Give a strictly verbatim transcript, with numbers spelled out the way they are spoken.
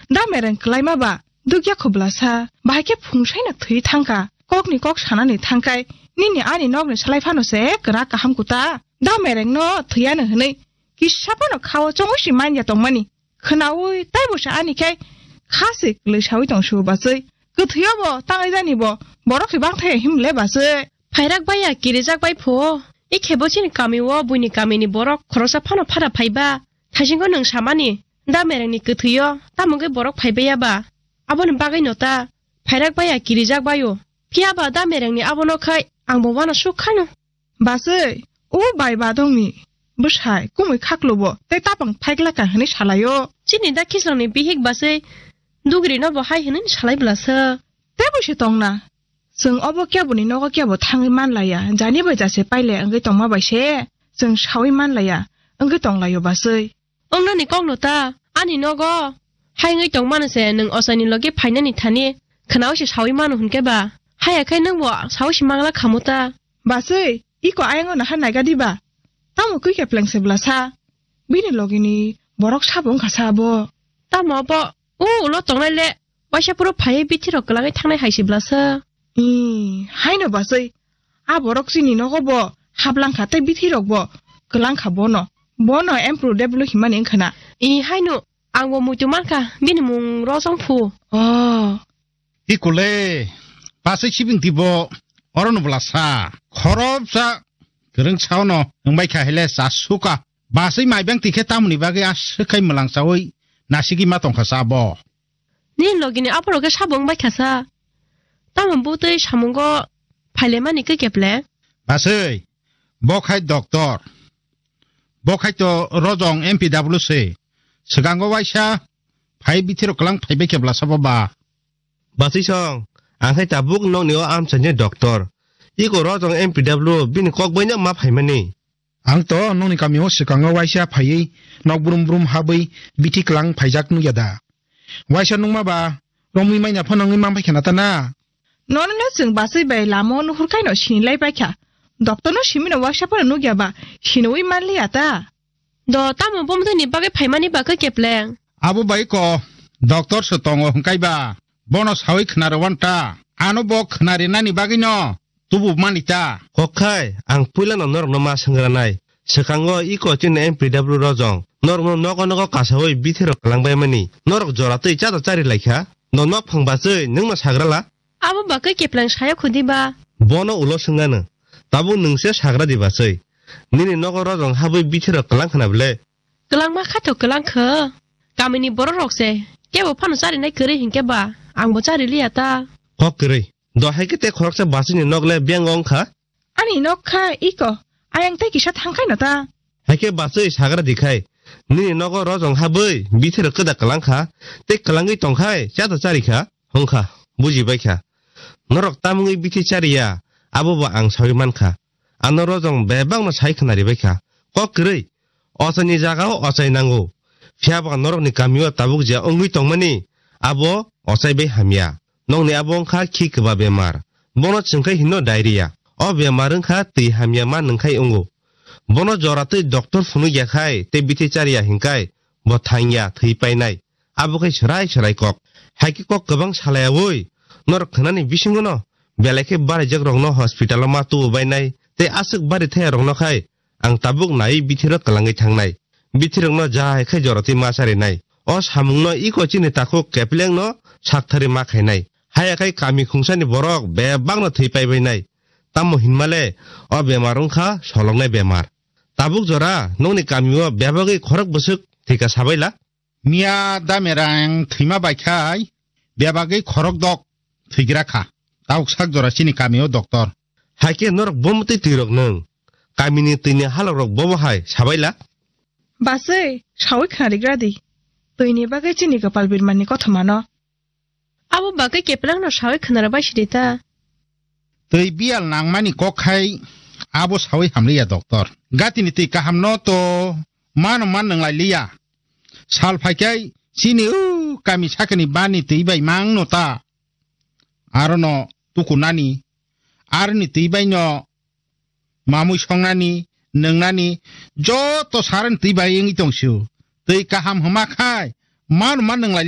Da mereng kwlaima ba dukya khublasa, bahai khe phungsaino thwi thangkha. Kokni kok sanani thangkai, nini ani nokni salai phano se kwrak kaham kuta. Da merengno thwiyano hwnwi kisa phano khao chongwi si manya tongmani. Khwnaui taibo se ani khai kha se kwlwi saui tong su bachwi. Kwthwio bo tangwi jani bo, borok se bang thaya himle bachwi. Phairak baiya kirijak bai pho. I khebo chini kami o buini kamini borok khoroksa phano phara phaiba. Thaisingo nwng samani, da merengni kwthwio, tamo wngwi borok phaibai ya ba? Aboni bagwino ta, phairak baiya kirijak baio. Phiya ba da merengni abono khai, ang bo uanasuk khano. Bachwi, o bai badongni bwsai kumui khaklobo tei tapang phaiglaka hwnwi salaio. Chini da khislongni bihik bachwi, dugrino bo hai hwnwi salai bwlasa. Tei bo se tongna. Chwng obo keboni nogo kebo thangwi manlaiya, jani bai jase paile wngwi tongma bai se chwng saui manlaiya, wngwi tonglaio bachwi. Wngnani kokno ta, ani nogo hai wngwi tongmano se nwng ochaini logi phainani thani khwnaui se saui mano hwnkhe ba? Haya khai nwngbo saui se mangla khamu ta? Bachwi, iko ayang ono ha naiga diba? Tamo kwi kepleng se bwlasa? Bini logini borok sabo wngkha sa abo. Tamo abo, o ulo tongnai le, waisa phuru phaiwi bithi rok kwlangwi thangnai hai se bwlasa. Ih, haino bachwi. A borok chini nogo bo hablangkha tei bithi rok bo kwlangkha bono. Bono Emperor Deblo himani wngkha na. Ih, haino, ang bo muitu mankha, bini mung Rojong phu. Oh. Ikole, pasai sibing tibo, orono bwlasa, khorobsa, kwrwng saono, wngbai kha hele chasuka. Basai maibang tikhe tamoni bagwi aswk khai mwlang saui, nasigwi ma tongkha sa bo. Nini logini aphuru khe sabo wngbai kha sa. Tamo bwtwi samungo phailaimani khe keple? Basai, bo khai doctor. Bo khai to Rojong M P W se. Swkango waisa phai bithiro kwlang phaibai khe bwlasa bo ba. Basai song, ang khai tabuk nokni o amchaini doctor. Iko Rojong M P W bini kok baino ma phaimani. Ang to nokni kami o swkango waisa phaiwi nok brum brum habwi bithi kwlang phaijak nukya da. Waisa nukma ba romwi manya phano wngwi man phaikha na ta na? Nono no chwng bachwi bai lama o nuhur kaino sinilai paikha. Doctor no simino waisa phano nukya ba siniwi manliya ta? Do tamo bomtwi ni bagwi phaimani bagwi kepleng? Abo bai ko doctor se tongo hwnkhe ba bono sawi khna rw wan ta. Ano bo khna rinani bagwi no tubu mani ta. Kok khai ang puila no norok no ma swngranai. Swkango iko chini M P W Rojong norok no nogo nogo kasawi bithiro kwlangbai mani. Norok jora twi chata chari laikha. No nok phang bachwi nwng no sagrala? Abo bagwi kepleng saya khudi ba? Bono ulo swngano. Tabuk nwng se sagra di bachwi. Nini nogo Rojong habwi bithiro kwlang khna bwle? Kwlangma khato kwlang kho. Kamini borok rok se kebo phano charinai kwrwi hinkhe ba ang bo chari liya ta. Kok kwrwi. Do hai khe te khoroksa bachwini nok le beng wng kha? Ani nok kha iko. Ayang tei kisa thang khai no ta. Hai khe bachwi sagra di khai. Nini nogo Rojong habwi bithiro kwda kwlang kha. Tei kwlangwi tong khai chata chari kha. Hong kha. Buji bai kha. Norok tamungwi bithi chari ya. Abo bo ang sawi man kha. Ano Rojong bebak no sai khna ri bai kha. Kok kwrwi. Ochaini jaga o ochai nango. Phiya ba norokni kami o tabuk je wngwi tongmani, abo ochai bai hamya. Nokni abo wngkha khi kwba bemar. Bono chwngkhai hino diarrhea. O bemar wngkha twi hamya ma nwngkhai wngo. Bono jora twi doctor phunukya khai tei bithi chariya hinkhai bo thangya thwi painai. Abo khai swrai swrai kok. Hai khe kok kwbang salayaui norok khnani bisingono belai khe baraijak rokno hospital o ma tubu bainai tei aswk bari thaya rokno khai ang tabuk naiwi bithiro kwlangwi thangnai. Bithirokno jai khai jora twi ma charinai. O samungno iko chini takhuk keplengno sakthari ma khainai. Haya khai kami khungsani borok bebakno thwi paibainai. Tamo hinmale o bemar wngkha soloknai bemar. Tabuk jora nokni kamio bebagwi khorok bwswk thwika sabaila? Miya damerang thwima bai khai bebagwi khorok dok thwigra kha. Tabuk sak jora chini kamio doctor. Hai khe norok bomtwi twirok nwng? Kamini twini halokrok bobo hai sabaila? Bachwi, sawi khna rigra di. Twini bagwi chini kwpal birmani kothomano. Abo bagwi keplangno sawi khna rwbai sidi ta. Twi biyal nangmani kok khai abo sawi hamliya doctor. Gatini twi kahamno to mano man nwnglai liya. Sal phaikhai chini u kami sakani bani twi bai mangno ta. Arono tukunani, aroni twi baino mamui songnani, nwngnani joto sarani twi bai wngwi tongsiu. Twi kaham hwma khai mano man nwnglai